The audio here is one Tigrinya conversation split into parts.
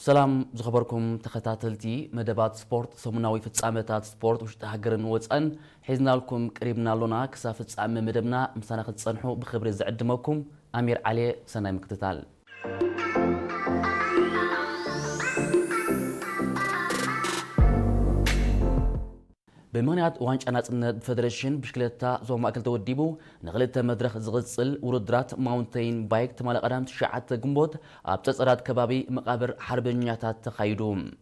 ሰላም ዝኸበርኩም ተኸታተልቲ መደባት ስፖርት፣ ሰሙናዊ ፍጻመታት ስፖርት ውሽጢ ሃገርን ወጻእን ሒዝናልኩም ቀሪብና ኣሎና። ክሳብ ፍጻመ መደብና ምሳና ክትጸንሑ ብኽብሪ ዝዕድመኩም ኣሚር ዓሌ። ሰናይ ምክትታል። ብምኽንያት ዋንጫ ናጽነት ብፈደረሽን ብሽክለታ ዞባ ማእከል ተወዲቡ ንኽልተ መድረኽ ዝቕጽል ውድድራት ማውንተይን ባይክ ትማሊ ቀዳም ትሽዓተ ግንቦት ኣብ ጸጸራት ከባቢ መቓብር ሓርበኛታት ተኻይዱ።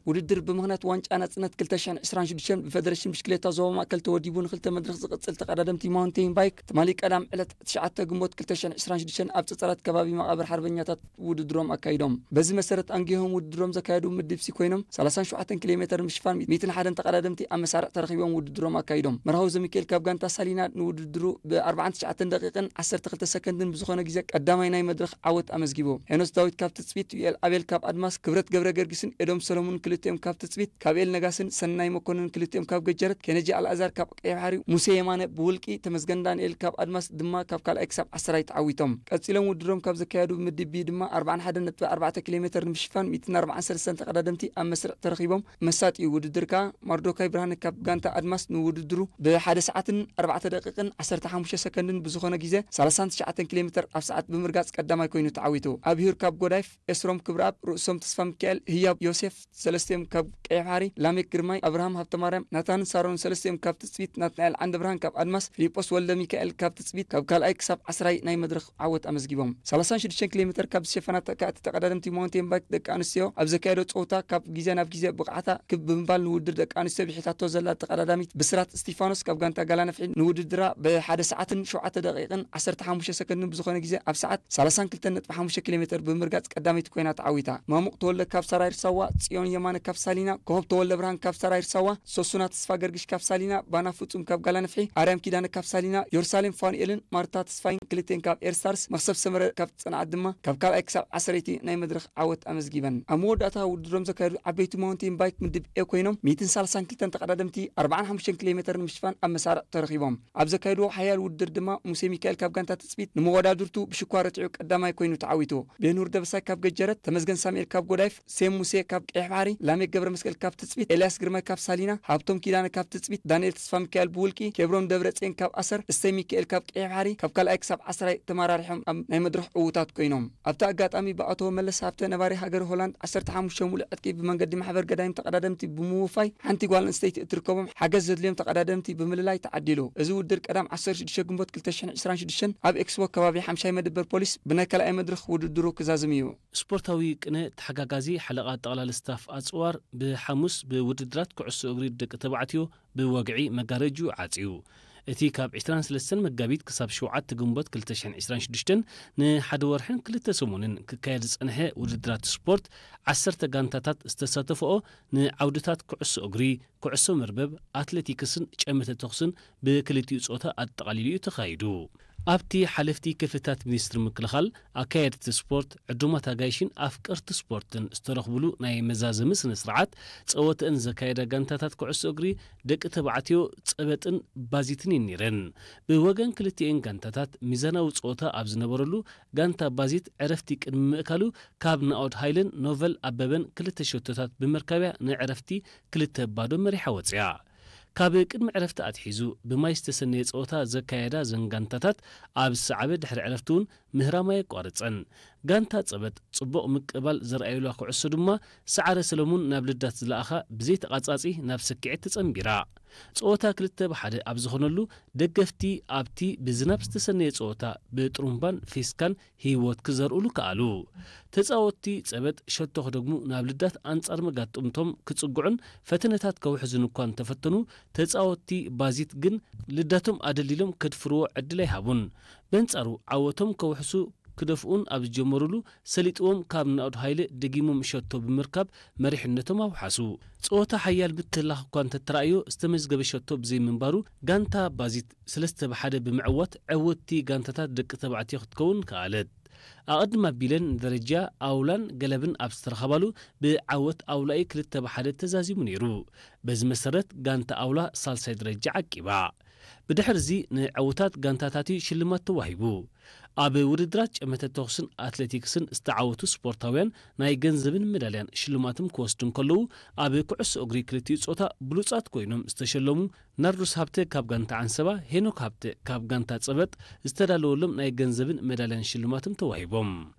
ውድድር ብምኽንያት ዋንጫ ናጽነት ክልተ ሽሕን ዕስራን ሽዱሽተን ብፈደረሽን ብሽክሌታ ዞባ ማእከል ተወዲቡ ንኽልተ መድረኽ ዝቕጽል ተቐዳደምቲ ማውንቴን ባይክ ትማሊ ቀዳም ዕለት ትሽዓተ ግንቦት ክልተ ሽሕን ዕስራን ሽዱሽተን ኣብ ጸጸራት ከባቢ መቓብር ሓርበኛታት ውድድሮም ኣካይዶም። በዚ መሰረት ኣንጊሆም ውድድሮም ዘካየዱ ምድብ ሲ ኮይኖም ሰላሳን ሸውዓተን ኪሎ ሜተር ምሽፋን ሚእትን ሓደን ተቐዳደምቲ ኣብ መሳርዕ ተረኺቦም ውድድሮም ኣካይዶም። መርሃዊ ዘሚካኤል ካብ ጋንታ ሳሊና ንውድድሩ ብ ኣርባዓን ትሽዓተን ደቂቕን ዓሰርተ ክልተ ሰከንድን ብዝኾነ ግዜ ቀዳማይ ናይ መድረኽ ዓወት ኣመዝጊቡ። ሄኖስ ዳዊት ካብ ትጽቢት፣ ዩኤል ኣቤል ካብ ኣድማስ፣ ክብረት ገብረ ገርጊስን ኤዶም ሰለሙን ክልቲኦም ካብ ትጽቢት፣ ካብ ኤል ነጋስን ሰናይ መኮንን ክልቲኦም ካብ ገጀረት፣ ኬነጂ ኣልኣዛር ካብ ቀይሕ ባሕሪ፣ ሙሴ የማነ ብውልቂ፣ ተመስገን ዳንኤል ካብ ኣድማስ ድማ ካብ ካልኣይ ክሳብ ዓሰራይ ተዓዊቶም። ቀጺሎም ውድድሮም ካብ ዘካየዱ ምድብ ቢ ድማ ኣርባዓን ሓደን ነጥቢ ኣርባዕተ ኪሎ ሜተር ንምሽፋን ሚእትን ኣርባዓን ሰለስተን ተቐዳደምቲ ኣብ መስርዕ ተረኺቦም። መሳጢ ውድድር ከኣ ማርዶካይ ብርሃነ ካብ ጋንታ ኣድማስ ንውድድሩ ብሓደ ሰዓትን ኣርባዕተ ደቂቕን ዓሰርተ ሓሙሽተ ሰከንድን ብዝኾነ ግዜ ሰላሳን ትሽዓተን ኪሎ ሜተር ኣብ ሰዓት ብምርጋጽ ቀዳማይ ኮይኑ ተዓዊቱ። ኣብሂር ካብ ጎዳይፍ፣ ኤስሮም ክብረኣብ፣ ርእሶም ተስፋሚካኤል፣ ህያብ ዮሴፍ፣ ሰለስቲኦም ካብ ቀይሕ ባሕሪ፣ ላሜክ ግርማይ፣ ኣብርሃም ሃብተማርያም፣ ናታንን ሳሮንን ሰለስቲኦም ካብ ትጽቢት፣ ናትናኤል ዓንደብርሃን ካብ ኣድማስ፣ ፊሊጶስ ወልደ ሚካኤል ካብ ትጽቢት ካብ ካልኣይ ክሳብ ዓስራይ ናይ መድረኽ ዓወት ኣመዝጊቦም። ሰላሳን ሽዱሽተን ኪሎ ሜተር ካብ ዝሸፈና ተካእቲ ተቐዳደምቲ ማውንቴን ባይክ ደቂ ኣንስትዮ ኣብ ዘካየዶ ጸወታ ካብ ግዜ ናብ ግዜ ብቕዓታ ክብ ብምባል ንውድድር ደቂ ኣንስትዮ ብሒታቶ ዘላ ተቐዳዳሚት ብስራት እስቲፋኖስ ካብ ጋንታ ጋላነፍሒ ንውድድራ ብሓደ ሰዓትን ሸውዓተ ደቂቕን ዓሰርተ ሓሙሽተ ሰከንድን ብዝኾነ ግዜ ኣብ ሰዓት ሰላሳን ክልተን ነጥቢ ሓሙሽተ ኪሎ ሜተር ብምርጋጽ ቀዳመይቲ ኮይና ተዓዊታ። ማሙቕ ተወልደ ካብ ሰራይር ሳዋ፣ ጽዮን የማነ ካብ ሳሊና፣ ኮኸብ ተወልደ ብርሃን ካብ ሰራይር ሳዋ፣ ሶሱና ተስፋ ገርግሽ ካብ ሳሊና፣ ባና ፍጹም ካብ ጋላነፍሒ፣ ኣርያም ኪዳነ ካብ ሳሊና፣ ዮርሳሌም ፋኑኤልን ማርታ ተስፋይን ክልቴን ካብ ኤርስታርስ፣ መኽሰብ ሰመረ ካብ ጽንዓት ድማ ካብ ካልኣይ ክሳብ ዓሰርይቲ ናይ መድረኽ ዓወት ኣመዝጊበን። ኣብ መወዳእታ ውድድሮም ዘካየዱ ዓበይቲ ማውንቴን ባይክ ምድብ ኤ ኮይኖም ሚእትን ሰላሳን ክልተን ተቐዳደምቲ ኣርባዓን ሓሙሽተን ኪሎ ሜተር ንምሽፋን ኣብ መሳርዕ ተረኺቦም። ኣብ ዘካየድዎ ሓያል ውድድር ድማ ሙሴ ሚካኤል ካብ ጋንታ ትጽቢት ንመወዳድርቱ ብሽኳ ረቲዑ ቀዳማይ ኮይኑ ተዓዊቱ። ቤኑር ደበሳይ ካብ ገጀረት፣ ተመስገን ሳሙኤል ካብ ጎዳይፍ፣ ሴም ሙሴ ካብ ቀይሕ ባሕሪ፣ ላሜክ ገብረ መስቀል ካብ ትጽቢት፣ ኤልያስ ግርማይ ካብ ሳሊና፣ ሃብቶም ኪዳነ ካብ ትጽቢት፣ ዳንኤል ተስፋ ሚካኤል ብውልቂ፣ ኬብሮን ደብረጽዮን ካብ ኣሰር፣ እሰይ ሚካኤል ካብ ቀይሕ ባሕሪ ካብ ካልኣይ ክሳብ ዓስራይ ተመራሪሖም ኣብ ናይ መድረኽ ዕዉታት ኮይኖም። ኣብቲ ኣጋጣሚ ብኣቶ መለስ ሃብተ ነባሪ ሃገር ሆላንድ ዓሰርተ ሓሙሽተ ሙሉእ ዕጥቂ ብመንገዲ ማሕበር ገዳይም ተቐዳደምቲ ብምውፋይ ሓንቲ ጓል ኣንስተይቲ እትርከቦም ሓገዝ ዘድልዮም ተቐዳደምቲ ብምልላይ ተዓዲሉ። እዚ ውድድር ቀዳም ዓሰርተ ሽዱሽተ ግንቦት ክልተ ሽሕን ዕስራን ሽዱሽተን ኣብ ኤክስፖ ከባቢ ሓምሻይ መደበር ፖሊስ ብናይ ካልኣይ መድረኽ ውድድሩ ክዛዝም እዩ። ስፖርታዊ ቅነ ተሓጋጋዚ ሓለቓ ጠቕላሊ ስታፍ ኣጽዋር ብሓሙስ ብውድድራት ኩዕሶ እግሪ ደቂ ተባዕትዮ ብወግዒ መጋረጅኡ ዓጽዩ። እቲ ካብ ዕስራን ሰለስተን መጋቢት ክሳብ ሸውዓተ ግንቦት ክልተ ሽሕን ዕስራን ሽዱሽተን ንሓደ ወርሕን ክልተ ሰሙንን ክካየድ ዝጸንሐ ውድድራት ስፖርት ዓሰርተ ጋንታታት ዝተሳተፈኦ ንዓውድታት ኩዕሶ እግሪ፣ ኩዕሶ መርበብ፣ ኣትሌቲክስን ጨመተ ተኹስን ብክልቲኡ ጾታ ኣጠቓሊሉ እዩ ተኻይዱ። ኣብቲ ሓለፍቲ ክፍልታት ሚኒስትሪ ምክልኻል፣ ኣካየድቲ ስፖርት፣ ዕዱማት ኣጋይሽን ኣፍቀርቲ ስፖርትን ዝተረኽብሉ ናይ መዛዘሚ ስነ ስርዓት ጸወተአን ዘካየዳ ጋንታታት ኩዕሶ እግሪ ደቂ ተባዕትዮ ጸበጥን ባዚትን እየን ነይረን። ብወገን ክልቲኤን ጋንታታት ሚዛናዊ ጸወታ ኣብ ዝነበረሉ ጋንታ ባዚት ዕረፍቲ ቅድሚ ምእካሉ ካብ ናኦድ ሃይለን ኖቨል ኣበበን ክልተ ሸቶታት ብምርካብያ ንዕረፍቲ ክልተ ባዶ መሪሓ ወጽያ። ካብ ቅድሚ ዕረፍቲ ኣትሒዙ ብማይ ዝተሰነየ ጸወታ ዘካየዳ እዘን ጋንታታት ኣብ ዝሰዓበ ድሕሪ ዕረፍቲ እውን ምህራም ኣየቋረጸን። ጋንታ ጸበጥ ጽቡቕ ምቅባል ዘርኣየላ ኩዕሶ ድማ ሰዓረ ሰለሙን ናብ ልዳት ዝለኣኻ ብዘይተቓጻጺ ናብ ስክዒት ተጸንቢራ። ጸወታ ክልተ ብሓደ ኣብ ዝኾነሉ ደገፍቲ ኣብቲ ብዝናብ ዝተሰነየ ጸወታ ብጥሩምባን ፌስካን ህይወት ክዘርእሉ ከኣሉ። ተጻወትቲ ጸበጥ ሸቶ ክደግሙ ናብ ልዳት ኣንጻር መጋጥምቶም ክጽግዑን ፈተነታት ከውሕዙን እኳ እንተፈተኑ፣ ተጻወትቲ ባዚት ግን ልዳቶም ኣደልዲሎም ከድፍርዎ ዕድል ኣይሃቡን። በንጻሩ ዓወቶም ከውሕሱ ክደፍኡን ኣብ ዝጀመሩሉ ሰሊጥዎም ካብ ናኦድ ሃይለ ደጊሞም ሸቶ ብምርካብ መሪሕነቶም ኣውሓሱ። ጸወታ ሓያል ምትህልላኽ እኳ እንተተራእዮ ዝተመዝገበ ሸቶ ብዘይምንባሩ ጋንታ ባዚት ሰለስተ ብሓደ ብምዕዋት ዕውትቲ ጋንታታት ደቂ ተባዕትዮ ክትከውን ከኣለት። ኣቐድም ኣቢለን ንደረጃ ኣውላን ገለብን ኣብ ዝተረኸባሉ ብዓወት ኣውላኢ ክልተ ብሓደ ተዛዚሙ ነይሩ። በዚ መሰረት ጋንታ ኣውላ ሳልሳይ ደረጃ ዓቂባ። ብድሕርዚ ንዕውታት ጋንታታት እዩ ሽልማት ተዋሂቡ። ኣብ ውድድራት ጨመተ ተኹስን ኣትሌቲክስን ዝተዓወቱ ስፖርታውያን ናይ ገንዘብን ሜዳልያን ሽልማትም ክወስዱ እንከለዉ፣ ኣብ ኩዕሶ እግሪ ክልቲኡ ጾታ ብሉጻት ኮይኖም ዝተሸለሙ ናርዶስ ሃብተ ካብ ጋንታ ዓንሰባ፣ ሄኖክ ሃብተ ካብ ጋንታ ጸበጥ ዝተዳለወሎም ናይ ገንዘብን ሜዳልያን ሽልማትም ተዋሂቦም።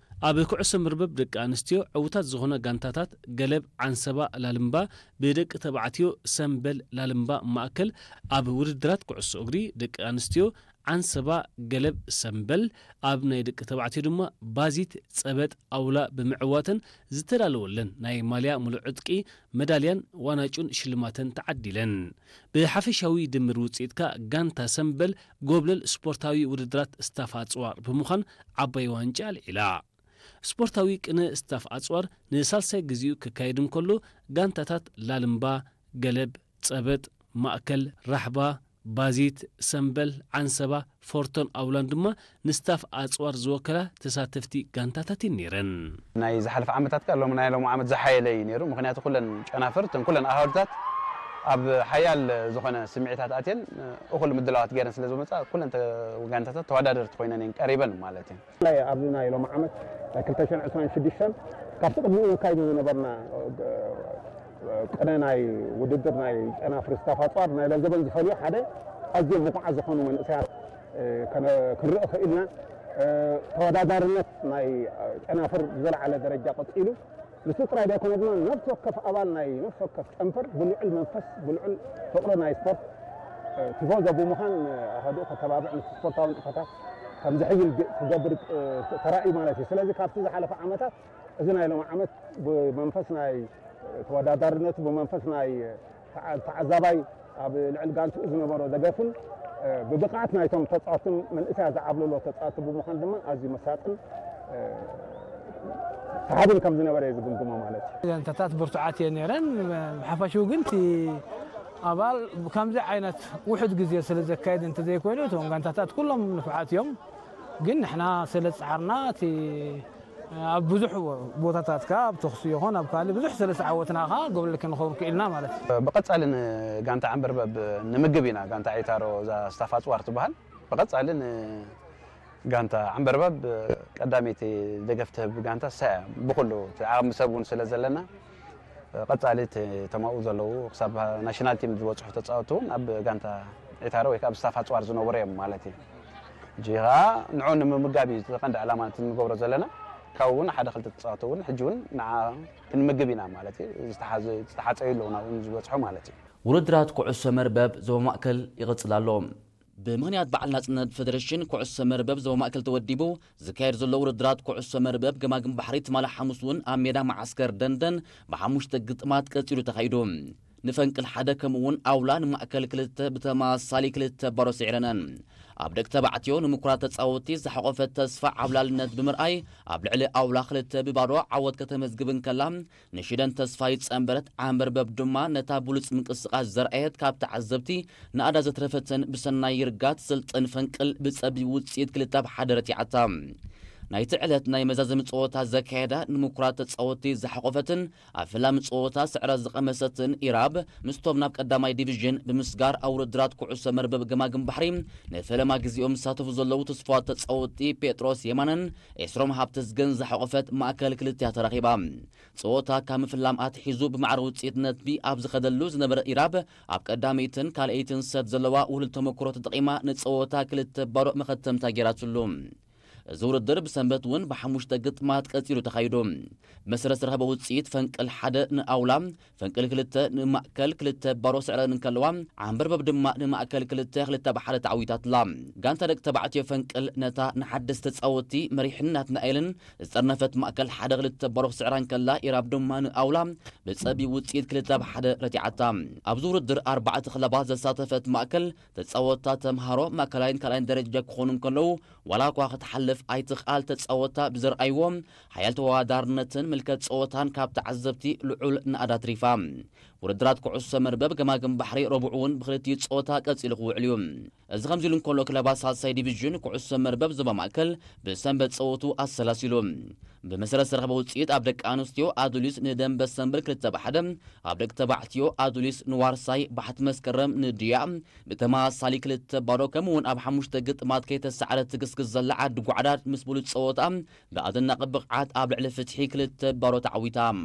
ኣብ ኩዕሶ መርበብ ደቂ ኣንስትዮ ዕዉታት ዝኾነ ጋንታታት ገለብ ዓንሰባ ላልምባ ብደቂ ተባዕትዮ ሰምበል ላልምባ ማእከል ኣብ ውድድራት ኩዕሶ እግሪ ደቂ ኣንስትዮ ዓንሰባ ገለብ ሰምበል ኣብ ናይ ደቂ ተባዕትዮ ድማ ባዚት ጸበጥ ኣውላ ብምዕዋተን ዝተዳለወለን ናይ ማልያ ሙሉእ ዕጥቂ መዳልያን ዋናጩን ሽልማተን ተዓዲለን። ብሓፈሻዊ ድምር ውጽኢትካ ጋንታ ሰምበል ጎብለል ስፖርታዊ ውድድራት ስታፍ ኣጽዋር ብምዃን ዓባይ ዋንጫ ኣልዒላ። ስፖርታዊ ቅነ ስታፍ ኣጽዋር ንሳልሳይ ግዜኡ ክካየድ እንከሎ፣ ጋንታታት ላልምባ፣ ገለብ፣ ጸበጥ፣ ማእከል፣ ራሕባ፣ ባዚት፣ ሰምበል፣ ዓንሰባ፣ ፎርቶን ኣውላን ድማ ንስታፍ ኣጽዋር ዝወከላ ተሳተፍቲ ጋንታታት እየን ነይረን። ናይ ዝሓለፈ ዓመታት ከኣ ሎም-፣ ናይ ሎሚ ዓመት ዝሓየለ እዩ ነይሩ። ምኽንያቱ ኩለን ጨናፍር፣ እተን ኩለን ኣሃዱታት ኣብ ሓያል ዝኾነ ስምዒታት ኣትየን እኹል ምድላዋት ገይረን ስለ ዝመጻ፣ ኩለን ተ-፣ ጋንታታት ተወዳደርቲ ኮይነን እየን ቀሪበን ማለት እዩ። ብፍላይ ኣብዚ ናይ ሎሚ ዓመት ናይ ክልተ ሽሕን ዕስራን ሽዱሽተን ካብቲ ቅድሚኡ ነካይዶ ዝነበርና ቅነ ናይ ውድድር ናይ ጨናፍር ስታፍ ኣጽዋር ናይ ለዘበን ዝፈልዮ ሓደ ኣዝዮም ብቑዓት ዝኾኑ መንእሰያት፣ እ፣ ከነ-፣ ክንርኢ ክኢልና። እ፣ ተወዳዳርነት ናይ ጨናፍር ብዝለዓለ ደረጃ ቀጺሉ። ንሱ ጥራይ ዘይኮነ ድማ ነፍሲ ወከፍ ኣባል ናይ ነፍሲ ወከፍ ጨንፈር ብልዑል መንፈስ፣ ብልዑል ፍቕሪ ናይ ስፖርት፣ እ፣ ቲፎዞ ብምዃን ንኣሃዱኡ ከተባብዕ፣ ምስ ስፖርታዊ ንጥፈታት ከም ዝሕይል ግ-፣ ክገብር፣ እ፣ ተራእዩ ማለት እዩ። ስለዚ ካብቲ ዝሓለፈ ዓመታት እዚ ናይ ሎሚ ዓመት ብመንፈስ ናይ ተወዳዳርነቱ፣ ብመንፈስ ናይ ተዓ-፣ ተዓዛባይ ኣብ ልዕሊ ጋንትኡ ዝነበሮ ደገፍን፣ እ፣ ብብቕዓት ናይቶም ተጻወትን መንእሰያት ዝዓብለሎ ተጻወቲ ብምዃን ድማ ኣዝዩ መሳጥን፣ እ፣ ሰሓብን ከም ዝነበረ እየ ዝግምግሞ ማለት እዩ። ጋንታታት ብርቱዓት እየን ነይረን። ብሓፈሽኡ ግን እቲ ኣባል ከምዚ ዓይነት ውሑድ ግዜ ስለ ዘካየድ እንተዘይኮይኑ፣ እቶም ጋንታታት ኩሎም ንፉዓት እዮም። ግን ንሕና ስለ ዝጸዓርና፣ እቲ ኣብ ብዙሕ ቦታታት ከኣ ኣብ ተኹሲ ይኹን ኣብ ካልእ ብዙሕ ስለ ዝተዓወትና ከኣ ጎብለል ክንኸውን ክኢልና ማለት እዩ። ብቐጻሊ ንጋንታ ዓንበርበብ ንምግብ ኢና። ጋንታ ዒታሮ፣ እዛ ስታፍ ኣጽዋር ትበሃል፣ ብቐጻሊ ንጋንታ ዓንበርበብ ቀዳመይቲ ደገፍ ትህብ ጋንታ ንሳ እያ። ብኹሉ እቲ ዓቕሚ ሰብ እውን ስለ ዘለና፣ ቀጻሊ እቲ፣ እቶም ኣብኡ ዘለዉ ክሳብ ናሽናል ቲም ዝበጽሑ ተጻወትቲ እውን ኣብ ጋንታ ዒታሮ ወይ ከኣ ኣብ ስታፍ ኣጽዋር ዝነበሩ እዮም ማለት እዩ። ሕጂ ከኣ ንዕኡ ንምምጋብ እዩ እቲ ቀንዲ ዕላማ እቲ እንገብሮ ዘለና። ካብኡ እውን ሓደ ክልተ ተጻወትቲ እውን ሕጂ እውን ንዓ ክንምግብ ኢና ማለት እዩ። ዝተሓዘ-፣ ዝተሓጸዩ ኣለዉ ናብኡ ዝበጽሑ ማለት እዩ። ውድድራት ኩዕሶ መርበብ ዞባ ማእከል ይቕጽል ኣሎ። ብምኽንያት በዓል ናጽነት፣ ፈደረሽን ኩዕሶ መርበብ ዞባ ማእከል ተወዲቡ ዝካየድ ዘሎ ውድድራት ኩዕሶ መርበብ ገማግም ባሕሪ ትማሊ ሓሙስ እውን ኣብ ሜዳ መዓስከር ደንደን ብሓሙሽተ ግጥማት ቀጺሉ ተኻይዱ። ንፈንቅል ሓደ ከምኡ እውን ኣውላ ንማእከል ክልተ ብተመሳሳሊ ክልተ ባዶ ስዒረነን። ኣብ ደቂ ተባዕትዮ ንምኩራት ተጻወትቲ ዝሓቖፈት ተስፋ ዓብላልነት ብምርኣይ ኣብ ልዕሊ ኣውላ ክልተ ብባዶ ዓወት ከተመዝግብ እንከላ፣ ንሽደን ተስፋይ ጸንበረት ዓንበርበብ ድማ ነታ ብሉጽ ምንቅስቓስ ዘርኣየት ካብ ተዓዘብቲ ንኣዳ ዘትረፈትን ብሰናይ ይርጋ ትስልጥን ፈንቅል ብጸቢብ ውጽኢት ክልተ ብ ሓደ ረቲዓታ። ናይቲ ዕለት ናይ መዛዘሚ ጸወታ ዘካየዳ ንምኩራት ተጻወትቲ ዝሓቖፈትን ኣብ ፈላሚ ጸወታ ስዕረት ዝቐመሰትን ኢራብ ምስቶም ናብ ቀዳማይ ዲቪዥን ብምስጋር ኣብ ውድድራት ኩዕሶ መርበብ ገማግም ባሕሪ ንፈለማ ግዜኦም ዝሳተፉ ዘለዉ ተስፋ ተጻወትቲ ጴጥሮስ የማነን ኤስሮም ሃብተዝገን ዝሓቖፈት ማእከል ክልቲኣ ተራኺባ። ጸወታ ካብ ምፍላም ኣትሒዙ ብማዕረ ውጽኢት ነጥቢ ኣብ ዝኸደሉ ዝነበረ ኢራብ ኣብ ቀዳመይትን ካልኣይትን ሰት ዘለዋ ውህሉል ተመክሮ ተጠቒማ ንጸወታ ክልተ ባዶ መኸተምታ ገይራትሉ። እዚ ውድድር ብሰንበት እውን ብሓሙሽተ ግጥማት ቀጺሉ ተኻይዱ። ብመሰረት ዝተረኸበ ውጽኢት ፈንቅል ሓደ ንኣውላ፣ ፈንቅል ክልተ ንማእከል ክልተ ባዶ ስዕረን እንከለዋ፣ ዓንበርበብ ድማ ንማእከል ክልተ ክልተ ብ ሓደ ተዓዊታትላ። ጋንታ ደቂ ተባዕትዮ ፈንቅል ነታ ንሓደስቲ ተጻወትቲ መሪሕን ናትናኤልን ዝጠርነፈት ማእከል ሓደ ክልተ ባዶ ክስዕራ እንከላ፣ ኢራብ ድማ ንኣውላ ብጸቢብ ውጽኢት ክልተ ብ ሓደ ረቲዓታ። ኣብዚ ውድድር ኣርባዕተ ክለባት ዘሳተፈት ማእከል ተጻወትታ ተምሃሮ ማእከላይን ካልኣይን ደረጃ ክኾኑ እንከለዉ፣ ዋላ እኳ ክትሓልፍ ኣይትኽኣል ተጻወትታ ብዘርኣይዎ ሓያል ተወዳዳርነትን ምልከት ጸወታን ካብ ተዓዘብቲ ልዑል ናእዳ ኣትሪፋ። ውድድራት ኩዕሶ መርበብ ገማግም ባሕሪ ረቡዕ እውን ብክልቲኡ ጸወታ ቀጺሉ ክውዕል እዩ። እዚ ከምዚ ኢሉ እንከሎ፣ ክለባት ሳልሳይ ዲቪዥን ኩዕሶ መርበብ ዞባ ማእከል ብሰንበት ጸወቱ ኣሰላሲሉ። ብመሰረት ዝተረኸበ ውጽኢት ኣብ ደቂ ኣንስትዮ ኣዱሊስ ንደንበ ሰንበል ክልተ ብ ሓደ፣ ኣብ ደቂ ተባዕትዮ ኣዱሊስ ንዋርሳይ ባሕቲ መስከረም ንድያ ብተመሳሳሊ ክልተ ባዶ፣ ከምኡ እውን ኣብ ሓሙሽተ ግጥማት ከይተሰዓረ ትግስት ክትክስ ዘላ ዓዲ ጓዕዳድ ምስ ብሉጽ ጸወታ ብኣደናቂ ብቕዓት ኣብ ልዕሊ ፍትሒ ክልተ ባዶ ተዓዊታ።